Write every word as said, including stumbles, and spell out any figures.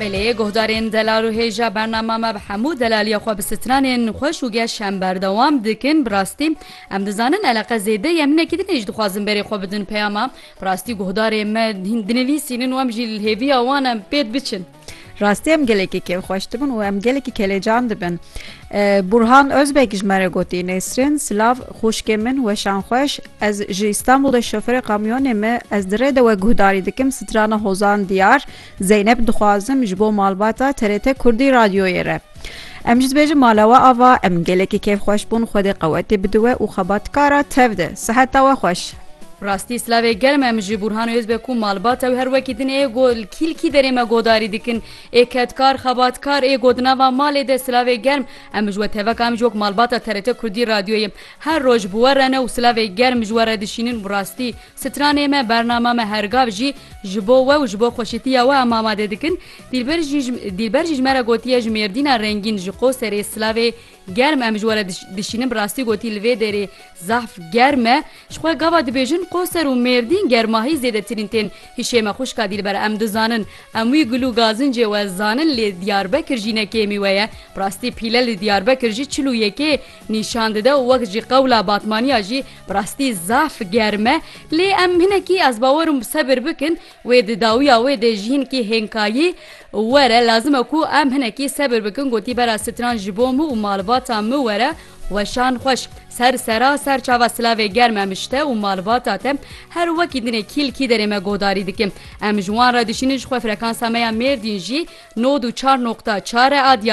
Belê, guhdarên delal û hêja bernama me bi hemû delaliya xwe bi stranên xweş û geş em berdewam dikin. Bi rastî, em dizanin eleqe zêde ye, em hinekî din ê jî dixwazin berê xwe bidin peyama. Bi rastî guhdarê me hîn dinivîsînin û em jî li hêviya wan em pêt biçin. Rastî em gelekî kêfxweş dibin û em gelekî kelecan dibin. E, Burhan Özbek ji me re gotî, Nesrin, silav xwişkê min, weşan xweş. Ez ji Îstanbulê şofêrê kamyonê me, ez di rê de we guhdarî dikim, strana Hozan Diyar, Zeynep dixwazim ji bo malbata T R T Kurdî Radyoyê re. Em jî dibêjin mala we ava, em gelekî kêfxweş bûn, Xwedê qewetê bide we û xebatkara tev de. Siheta we xweş. Rastî silavê germ em ji Burhan Özbek û malbata wî her wekî din ê go li kî li kî derê me godarî dikin. Ê kedkar, xebatkar, ê go di nava malê de silavê germ. Em ji we teveka em ji wek malbata T R T Kurdî Radyoyê her roj bi we re ne û silavê germ ji we re dişînin. Bi rastî stranê me, bernama me her gav jî ji bo we û ji bo xweşîtiya we em amade dikin. Dîlber jî ji, Dîlber jî ji me re gotiye ji Mêrdîna rengîn ji Qoserê silavê germ em ji we re diş-, dişînin. Bi rastî gotî li vê derê zaf germ e. Ji xwe gava dibêjin Qoser û Mêrdîn germahî zêdetirîn tên hişê me xwişka Dîlber. Em dizanin, em wî gul û gazincê we zanin, lê Diyarbekir jî ne kêmî we ye. Bi rastî pîle li Diyarbekir jî çil û yekê nîşan dide û wek jî qewla Batmaniya jî bi rastî zaf germ e. Lê em hinekî, ez bawer im, sebir bikin. Wê di dawiya wê de jî hinkî hênkayî were, lazim e ku em hinekî sebir bikin. Gotî bera stran ji bo min û malbata min were, weşan xweş. Ser sera ser çava silavê germ em ji te û malbata te her wekî dinê kî li kî derê me godarî dikim. Em ji wan re dişînin, ji xwe frekansa me ya Mêrdîn jî nod û çar noqta çar e, a